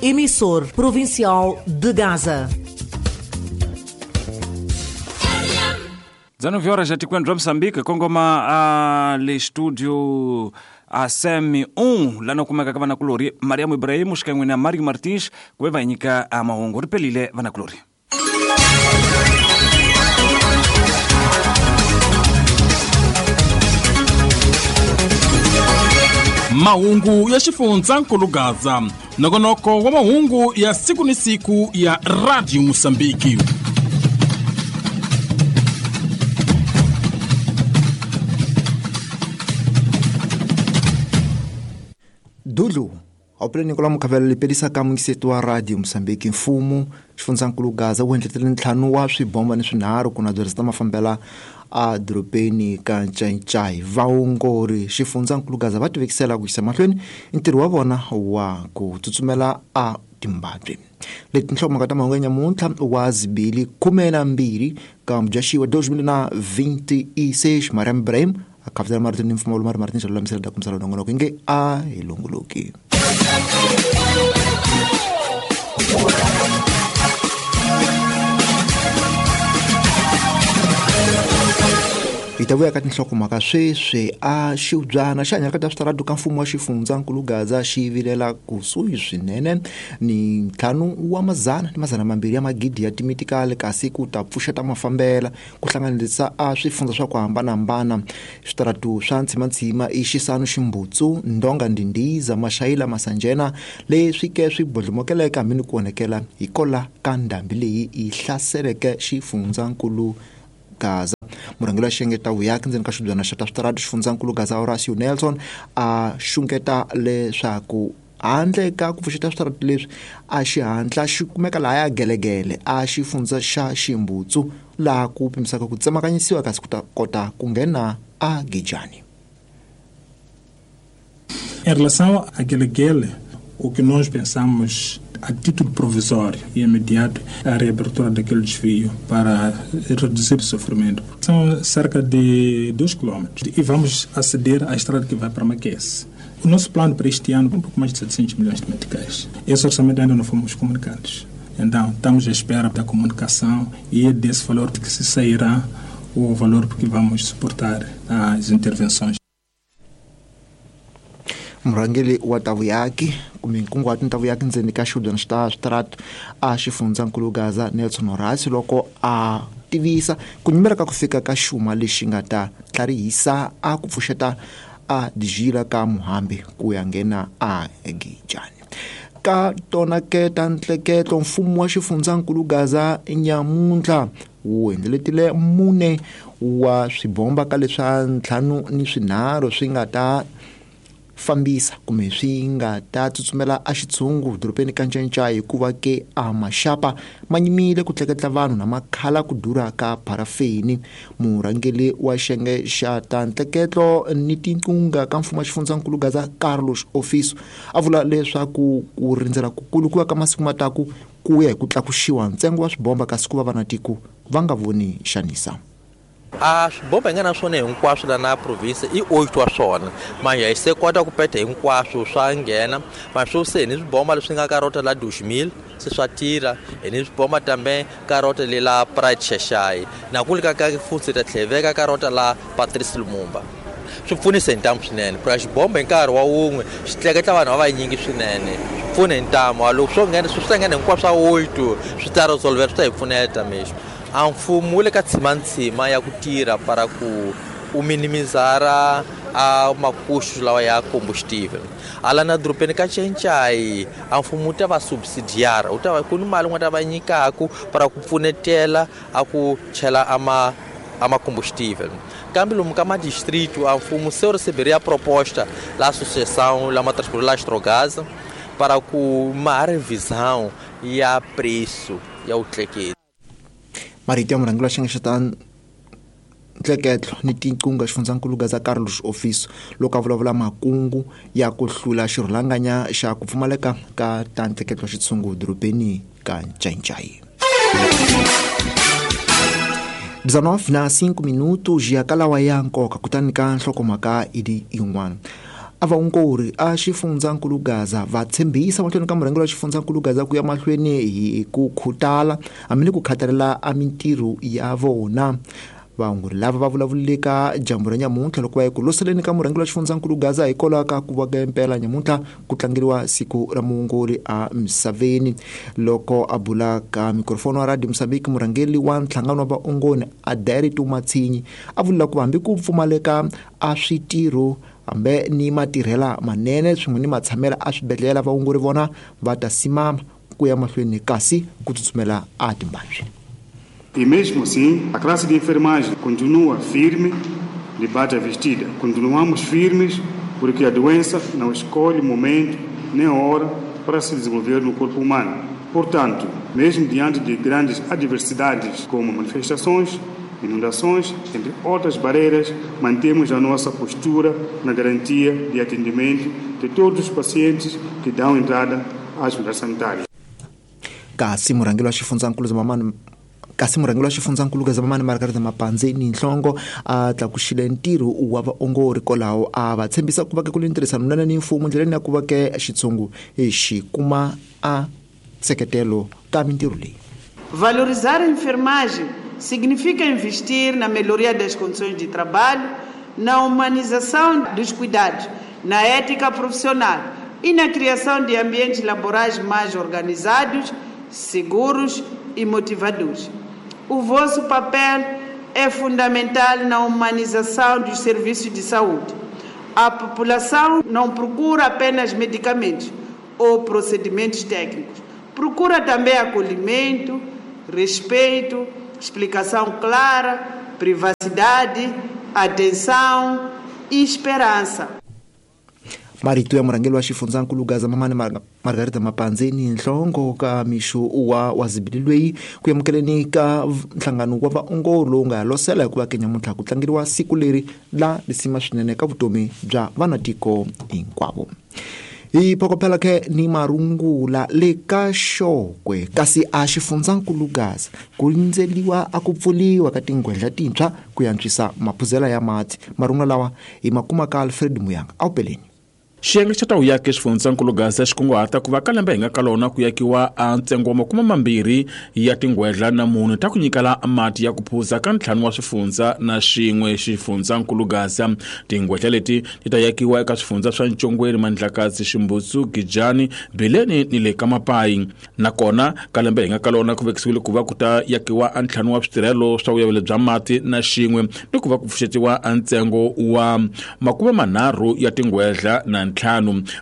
Emissor provincial de Gaza. 19 horas já te quando Moçambique, kongoma a le estúdio a SEM 1 lá no kumeka ka vanakulori Mariam Ibrahim xikan'we na Mario Martins ku ve va hi nyika a mahungu ri pelile vanakulori. Mahungu ya xifundzankulu Gaza, nongonoko wa mahungu ya siku ni siku ya Radio Mosambiki. Dulu awupele Nicola Mukhavela lepelisa ka muyingiseti wa Radio Mosambiki. Mfumo xifundzankulu Gaza wu endletele ntlhanu wa swibomba ni swinharhu ku na byerisa ta mafambela a dorobeni ka Ncayincai. Vaongori xifundzankulu Gaza va tivekisela ku yisa mahlweni ntirho wa vona wa ku tsutsumela a Timbabwe. Leti tinhlokomhaka ta mahungu ya nyamuntlha wa zibili 12 ka Mudyaxiwa 2026. Mariam Ibrahim a khavutela marito ni mfumo Mari Martin xa lulamisela da kumisela nongonoko inge a hi longoloki. Hi ta vuya ka tinhlokomhaka sweswi. A xiubyana xi hanyaka ta switaratu ka mfumo wa xifundzankulu Gaza xi vilela kusuhi swinene ni ntlhanu wa mazana ni mazana mambirhi ya magidi ya timitikali, kasi ku ta pfuxeta mafambela ku hlanganisa a swifundza swa ku hambanahambana. Switaratu swa ntsimantsima i Xisanu, Ximbutsu, Ndonga, Ndindiza, Maxayila, Masanjena leswi ke swi bodlomokeleke hambi ni ku onhekela hi kola ka ndhambi leyi yi hlaseleke xifundzankulu Gaza. Murhangeri wa xiyenge vuyaki ndzeni ka xibyana xa ta switaratu xifundzankulu Gaza Horacio Nelson a xungeta leswaku handle ka ku pfuxeta switaratu leswi a xihatla xi kumeka lahaya gelegele a xifundza xa Ximbutsu laha ku pimisaka ku tsemakanyisiwa kasi ku ta kota ku nghena a Gijani. Em relação a Gelegele, o que nós pensamos a título provisório e imediato a reabertura daquele desvio para reduzir o sofrimento. São cerca de 2 quilômetros e vamos aceder à estrada que vai para Maquese. O nosso plano para este ano é um pouco mais de 700 milhões de meticais. Esse orçamento ainda não fomos comunicados. Então, estamos à espera da comunicação e é desse valor que se sairá o valor que vamos suportar as intervenções. Murhangeri wa ta vuyaki kumbe nkunguhato ta vuyaki ndzeni ka xiudyana xa switaratu a xifundzankulu Gaza Nelson Horacio loko a tivisa ku nyimela ka ku fika ka xuma lexi nga ta tlharihisa a ku pfuxeta a dijila ka Muhambi ku ya nghena a Gijani. Ka tona ke ta ntleketlo mfumo wa xifundzankulu Gaza nyamuntlha wu endletile mune wa swibomba ka leswa ntlhanu ni swinharhu swi nga ta fambisa kumbe swi nga ta tsutsumela a xitshungu dorobeni ka Ncayincai hikuva ke a maxapa ma nyimile ku tleketla vanhu na makhala ku durha ka parafini. Murhangeri wa xiyenge xa ta ntleketlo ni tinqunga ka mfumo wa xifundzankulu Gaza Carlos Ofiso a vula leswaku ku rindzela kukulu ku ya ka masiku mataku ku ya hi ku tlakuxiwa ntsengo wa swibomba kasi ku va vanatiko va nga voni xanisa. A swibomba hi nga na swona hinkwaswo la na province i 8 wa swona manje hi se kota ku peta hinkwaswo swa nghena maswo se ni swibomba leswi nga ka rota la 2000 se swa tirha hi ni swibomba tambe ka rota le la Pride Shashai na ku lika ka futsi ta tlheveka ka rota la Patrice Lumumba. Swi pfunisa hi ntamu swinene ku xibomba hi nkarhi wa wun'we xi tleketla vanhu va vanyingi swinene swi pfuna hi ntamu loko swo nghena swi ta nghena hinkwaswo swa 8 swi ta resolver swi ta hi pfuneta mexo. A mfumo wu le ka tshimantsima ya ku tirha para ku u minimizara a makuxu lawa ya combustible. Ala na dorobeni ka Ncayincai a mfumo wu ta va subsidiara wu ta va ku ni mali nga ta va nyikaku para ku pfunetela a ku chela ama combustível. Kambe lomu ka madistrito a mfumo se receberia a proposta la associação la transporte la Astrogás para ku ma revisão ya preço ya utleketi. Marito ya murhangeri wa xiyenge xa ta ntleketlo ni tinqunga xifundzankulu Gaza Carlos Ofiso loko a vulavula makungu ya ku hlula xirhulanganya xa ku pfumaleka ka ta ntleketlo xitshungu dorobeni ka Ncayincai. 19 na 5 minutos ya kalawa ya nkoka kutani ka nhlokomhaka idi yin'wana. A vaongori a xifundzankulu Gaza va tshembisa mahlweni ka murhangeri wa xifundzankulu Gaza ku ya mahlweni hi ku khutala hambi ni ku khathalela a mintirho ya vona. Vaongori lava va vulavulile ka dyambu ra nyamuntlha loko va ya ku loseleni ka murhangeri wa xifundzankulu Gaza hikwalaho ka ku va ka impela nyamuntlha ku tlangeriwa siku ra muongori a misaveni. Loko a bula ka mikrofoni wa Radio Mozambique, murhangeri wa nhlangano wa vaongori Adairito Matsinyi a vula ku hambi ku pfumaleka a switirho hambe ni matirhela manene swin'we ni matshamela a swibedhlele, vaongori vona va ta simama ku ya mahlweni kasi ku tsutsumela a timbandzwi. E mesmo assim, a classe de enfermagem continua firme, de bata vestida. Continuamos firmes porque a doença não escolhe momento nem hora para se desenvolver no corpo humano. Portanto, mesmo diante de grandes adversidades como manifestações, inundações, entre outras barreiras, mantemos a nossa postura na garantia de atendimento de todos os pacientes que dão entrada às unidades sanitárias. Kasi murhangeri wa xifundzankulu Zamamani kasi murhangeri wa xifundzankulu Zamamani Margarita Mapanzeni Nhlongo a tlakuxile ntirho wa vaongori kwalaho a va tshembisa ku va ke ku tirhisana nene ni mfumo ndleleni ya ku va ke xitshungu xi kuma a nseketelo ka mintirho leyi. Valorizar a enfermagem significa investir na melhoria das condições de trabalho, na humanização dos cuidados, na ética profissional e na criação de ambientes laborais mais organizados, seguros e motivadores. O vosso papel é fundamental na humanização dos serviços de saúde. A população não procura apenas medicamentos ou procedimentos técnicos. Procura também acolhimento, respeito, explicação clara, privacidade, atenção e esperança. Marito ya murhangeri wa xifundzankulu Gaza Mamani Margarita Mapanzeni Nhlongo ka mixo wa wazibili loyi ku amukeleni ka nhlangano wa vaongori lowu nga losela hikuva ke nyamuntlha ku tlangeriwa siku leri la lisima swinene ka vutomi bya vanatiko hinkwavo. Hi phokophela ke ni marungula le ka Xokwe kasi a xifundzankulu Gaza ku rindzeliwa a ku pfuliwa ka tinghwendla tintshwa ku antswisa maphuzela ya mati. Marungula lawa hi makuma ka Alfred Muyanga awupeleni. Xiyenge xa tawuyaki xifundzankulu Gaza xi kunguhata ku va ka lembe hi nga ka lona ku yakiwa a ntsengo wa 20 ya tinghwedla na mune ta ku nyikela mati ya ku phuza ka 5 wa swifundza na xin'we xifundzankulu Gaza. Tinghwedla leti ti ta yakiwa eka swifundza swa Ntshongweni, Mandlakazi, Ximbutsu, Gijani, Bileni ni le ka Mapayi. Nakona ka lembe hi nga ka lona ku vekisiwile ku va ku ta yakiwa a 5 wa switirhelo swa vuyavelo bya mati na xin'we ni ku va ku pfuxetiwa a ntsengo wa 30 ya tinghwedla na 5.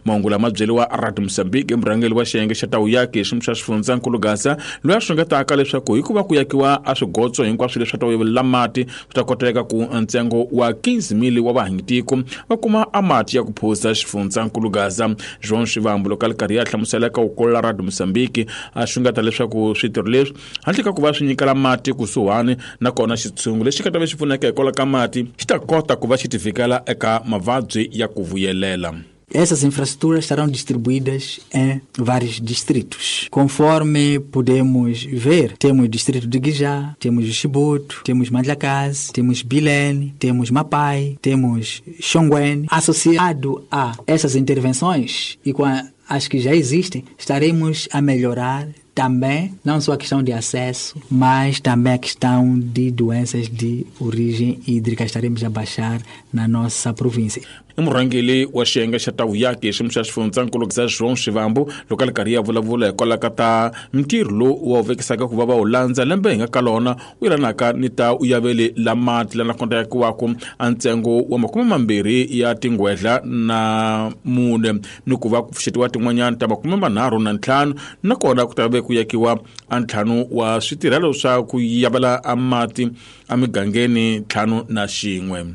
Mahungu lama byeriwa Radio Mozambique murhangeri wa xiyenge xa tawuyaki xi xa xifundzankulu Gaza loyi a xungetaka leswaku hikuva ku yakiwa a swigotso hinkwaswo leswi ta vuyelela mati swi ta koteka ku ntsengo wa 15,000 wa vahanyitiko va kuma a mati ya ku phuza xifundzankulu Gaza. João Xivambu loko a ri karhi a hlamusela ka ukolola Radio Mozambique a xungeta leswaku switirho leswi handle ka ku va swi nyikela mati kusuhani nakona xitshungu lexi nga ta va xi pfuneka hikwalaho ka mati xi ta kota ku va xi tivikela eka mavabyi ya ku vuyelela. Essas infraestruturas estarão distribuídas em vários distritos. Conforme podemos ver, temos o distrito de Guijá, temos o Chibuto, temos Mandlakazi, temos Bilene, temos Mapai, temos Xongweni. Associado a essas intervenções e com as que já existem, estaremos a melhorar também, não só a questão de acesso, mas também a questão de doenças de origem hídrica. Estaremos a baixar na nossa província. Murhangeri wa xiyenge xa tawuyaki xi xa xifundzankulu xa João Xivambu loko a ri karhi a vulavula hikwalaho ka ta ntirho lowu wa wu vekisaka ku va va wu landza lembe hi nga ka lona wu yelanaka ni ta uyaveli la mati lana konta yakiwaka a ntsengo wa 20 ya tinghwedla na 4 ni ku va ku pfuxetiwa tin'wanyana ta 35 nakona ku ta ve ku yakiwa a 5 wa switirhelo swa ku yavela a mati emigangeni 5 na xin'we.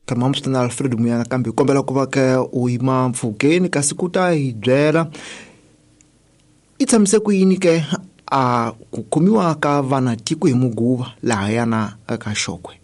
Kamamsitana Alfred Muyanga kambe kombela ku va ke u yima mpfhukeni kasi ku ta hi byela i tshamise ku yini ke a ku khomiwa ka vanatiko hi muguva lahayana ka Xokwe.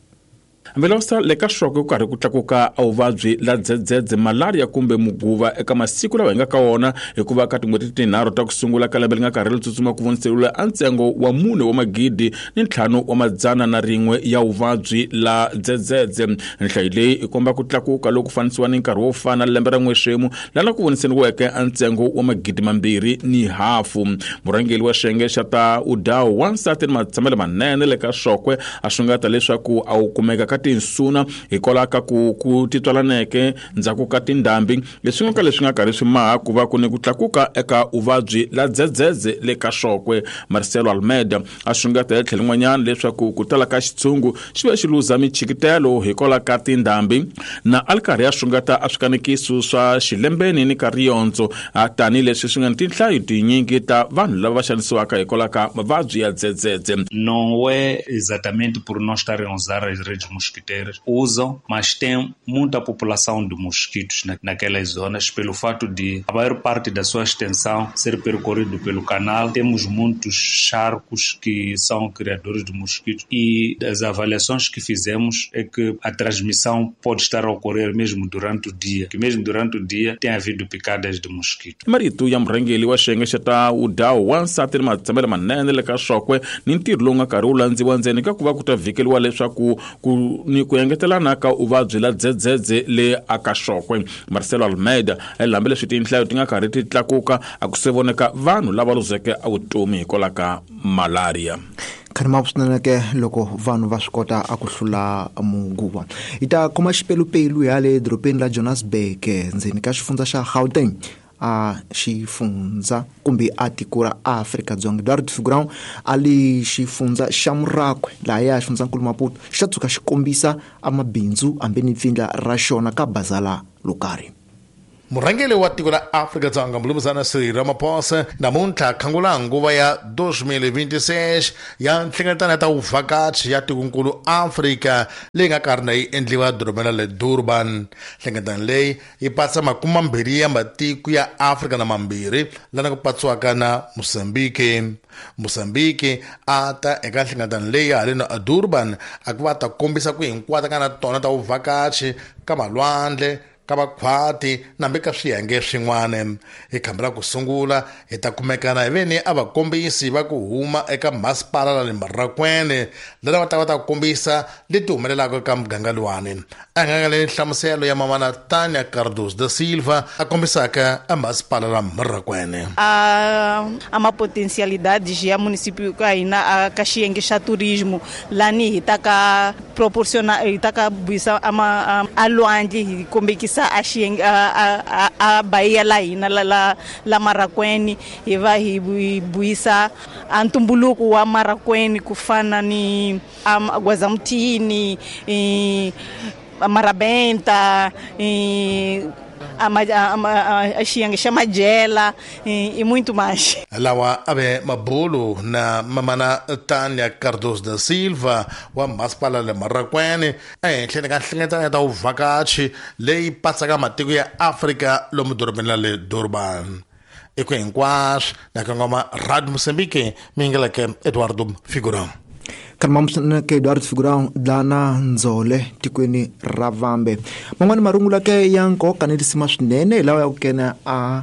Mvelosa le ka Xokwe ku karhi ku tlakuka a vuvabyi la dzedzedze, malaria kumbe muguva eka masiku lawa hi nga ka wona, hikuva ka tin'hweti tinharhu ta ku sungula ka lembe li nga karhi li tsutsuma ku voniseriwile a ntsengo wa 4,501 ya vuvabyi la dzedzedze. Nhlayo leyi i komba ku tlakuka loku fanisiwa ni nkarhi wo fana lembe ra n'wexemu lana ku voniseriweke a ntsengo wa 2,500. Murhangeri wa xiyenge xa ta udawu wansati ni matshamelo manene le ka Xokwe a xungeta leswaku a wu kumeka ka tinsuna hikwalaho ka ku titswalaneke ndzhaku ka tindhambi leswi nga ka leswi nga karhi swi maha ku va ku ni ku tlakuka eka vuvabyi la dzedzedze le ka Xokwe. Marcelo Almeida a xungeta hi tlhelo rin'wanyana leswaku ku tala ka xitshungu xi ve xi luza michikitelo hikwalaho ka tindhambi, na a li karhi a xungeta a swikanekiso swa xilembeni ni ka riyondzo tanihileswi swi nga ni tinhlayo tinyingi ta vanhu lava va xanisiwaka hikwalaho ka mavabyi ya dzedzedze. Não é exatamente por não estarem a usar as redes mosquiteiras, usam, mas tem muita população de mosquitos naquelas zonas, pelo fato de a maior parte da sua extensão ser percorrido pelo canal. Temos muitos charcos que são criadores de mosquitos e as avaliações que fizemos é que a transmissão pode estar a ocorrer mesmo durante o dia, que mesmo durante o dia tem havido picadas de mosquito. Marito ya murhangeri wa xiyenge xa ta udawu wansati ni matshamelo manene le ka Xokwe ni ntirho lowu nga karhi wu landziwa ndzeni ka ku va ku ta vhikeliwa leswaku ku ni ku engetelana ka vuvabyi la dzedzedze le aka Xokwe. Marcelo Almeida hambileswi tinhlayo ti nga karhi ti tlakuka a ku se voneka vanhu lava luzeke a vutomi hikwalaho ka malaria. Khanima swinene ke loko vanhu va swi kota a ku hlula muguva. Hi ta khoma xipelupelu ya le dorobeni ra Johannesburg ndzeni ka xifundza xa Gauteng a xifundza kumbe a tiko ra Afrika-Dzonga. Eduardo Figurão a li xifundza xa Murakwe laha ya xifundzankulu Maputo xi ta tshuka xi kombisa a mabindzu hambi ni pfindla ra xona ka bazala lokarhi. Murhangeri wa tiko la Afrika-Dzonga Mnumzana Cyril Ramaphosa namuntlha khangula nguva ya 2026 ya nhlengeletano ya ta vuvhakachi ya tikonkulu Afrika leyi nga karhi na yi endliwa dorobeni ra le Durban. Nhlengeletano leyi yi patsa 20 ya matiko ya Afrika na mambirhi lana ku patsiwaka na Mozambique. Mozambique a ta eka nhlengeletano leyi haleno a Durban a ku va ta kombisa ku hinkwata ka na tona ta vuvhakachi ka malwandle, ka vakhwati nambi ka swiyenge swin'wana. Hi khamba ra ku sungula hi ta kumekana hi veni a vakombisi va ku huma eka masipala la le Marrakwene lava va ta va ta kombisa leti humelelaka eka muganga luwani. A nga le nhlamuselo ya mamana Tânia Cardoso da Silva a kombisaka a masipala la Marrakwene. A ma potencialidade ya município ka hina a ka xiyenge xa turismo lani hi ta ka proporciona hi ta ka buyisa a lwandle hi kombekisa a xiyenge a Bahia la hina la Marrakwene hi va hi buyisa a ntumbuluko wa Marrakwene ku fana ni Gwazamutini, Marabenta, a xiyenge xa Majela e muito mais. Lawa ave mabulu na mamana Tânia Cardoso da Silva wa masipala le Marrakwene ehenhleni ka nhlengeletano ya ta vuvhakachi leyi patsaka matiko ya Afrika lomu dorobeni ra le Durban. Eku hinkwaswo na kongoma Radio Mozambique mingeleke Eduardo Figurão. Khanima ke Eduardo Figurão dlana ndzole tikweni ra Vambe. Man'wani marungula ke ya nkoka ni lisima swinene hi lawa ya ku kena a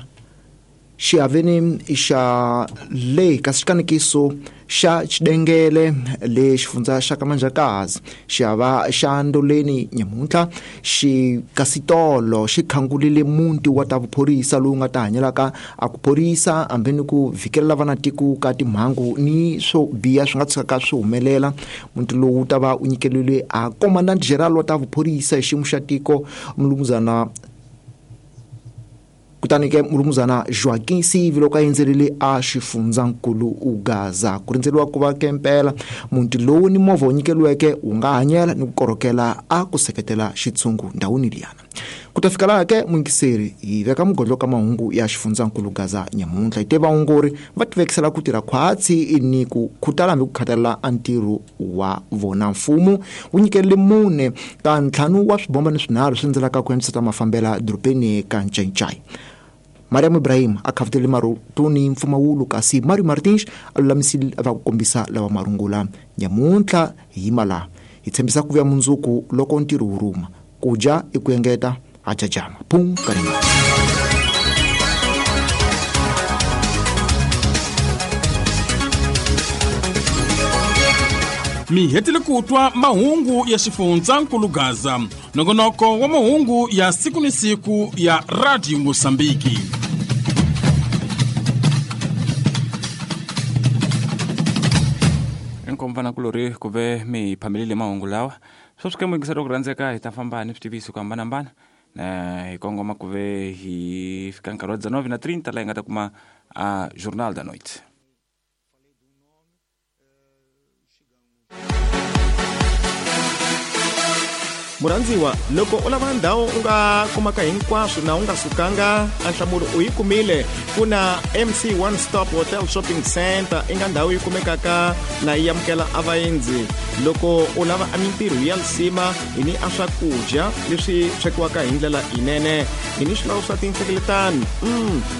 xiaveni xa le ka xikanekiso xa Xidengele le xifundza xa Kamanjakazi. Xiava xa Ndoleni nyamuntlha xi kasitolo xi khangulile muti wa ta vuphorisa lowu nga ta hanyelaka a ku phorisa hambi ni ku vhikelela vanatiko ka timhangu ni swo biha swi nga tshukaka swi humelela. Muti lowu ta va u nyikerile a Commandant General wa ta vuphorisa hi xiyimo xa tiko Mnumzana kutani ke Mnumzana Joaquim Sivi loko a endzerile a xifundzankulu Gaza. Ku rindzeriwa ku va ke mpela muti lowu ni movha wu nyikeriweke wu nga hanyela ni ku korhokela a ku seketela xitshungu ndhawini liyana. Ku ta fika laha ke muyingiseri hi veka mugodlo ka mahungu ya xifundzankulu Gaza nyamuntlha. Hi te vaongori va tivekisela ku tirha khwatsi ni ku khutala hambi ku khathalela a ntirho wa vona. Mfumo wu nyikerile 4 ka 5 wa swibomba ni swinharhu swi ndzelaka ku antswisa mafambela dorobeni ka Ncayincai. Mariam Ibrahim a khavutele marutuni mpfumawulo kasi Mario Martins a lulamisile va ku kombisa lawa marungula nyamuntlha hi yima laha. Hi tshembisa ku vuya mundzuku loko ntirho wu rhuma. Ku dya i ku engeta ha jajama. Phum karimba. Mi hetile ku twa mahungu ya xifundzankulu Gaza, nongonoko wa mahungu ya siku ni siku ya Radio Mosambiki. Inkomu vanakulorhi ku ve mi hi phamelile mahungu lawa. Sweswi ke muyingiseri wa ku rhandzeka hi ta famba ni switiviso ku hambanahambana na hi kongoma ku ve hi fika nkarhi wa 19:30 laha hi nga ta kuma a Journal da Noite. Murhandziwa, loko u lava ndhawu u nga kumaka hinkwaswo na u nga sukanga, a nhlamulo u yi kumile. Ku na MC One Stop Hotel Shopping Center, i nga ndhawu yi kumekaka na yi amukela a vaendzi. Loko u lava a mintirho ya lisima, hi ni a swakudya leswi swekiwaka hi ndlela yinene, hi ni swilawu swa tinhlengeletano.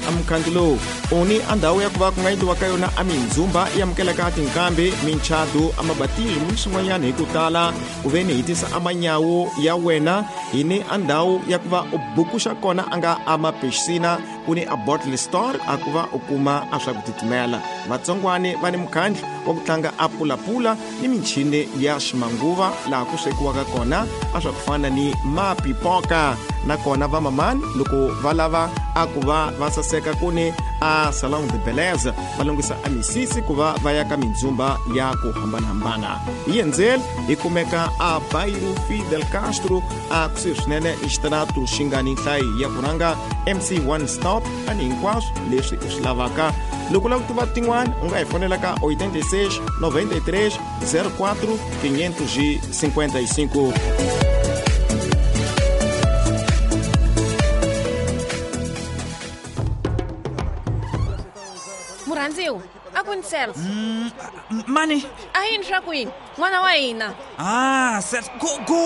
A mukhandlu lowu u ni a ndhawu ya ku va ku nga endliwa ka yona a mindzhumba yi amukelaka tinkambi, minchadu, a mabatismo ni swin'wanyana hi ku tala. Ku ve ni hi tisa a manyawu ya wena, hi ni a ndhawu ya ku va u bukuxa kona a nga a mapixina, ku ni a bottle store a ku va u kuma a swa ku titimela. Vatsongwani va ni mukhandlu wa ku tlanga a pulapula ni michini ya ximanguva laha ku swekiwaka kona a swa ku fana ni mapipoka. Nakona vamamani loko va lava a ku va va saseka ku ni a salon de beleza, va lunghisa a misisi ku va va ya ka mindzhumba ya ku hambanahambana. Hi endzeli hi kumeka a Bairro Fidel Castro a kusuhi swinene ni xitarato xi nga ni nhlayo ya ku rhanga MC One Stop a ni hinkwaswo leswi u swi lavaka. Loko u lava ku tiva tin'wana u nga hi fonela ka 86 93 04 555. Murhandziwa, a ku ni Celso. Mani? A yini swa ku yini? N'wana wa hina. Ah, Celso, go, go.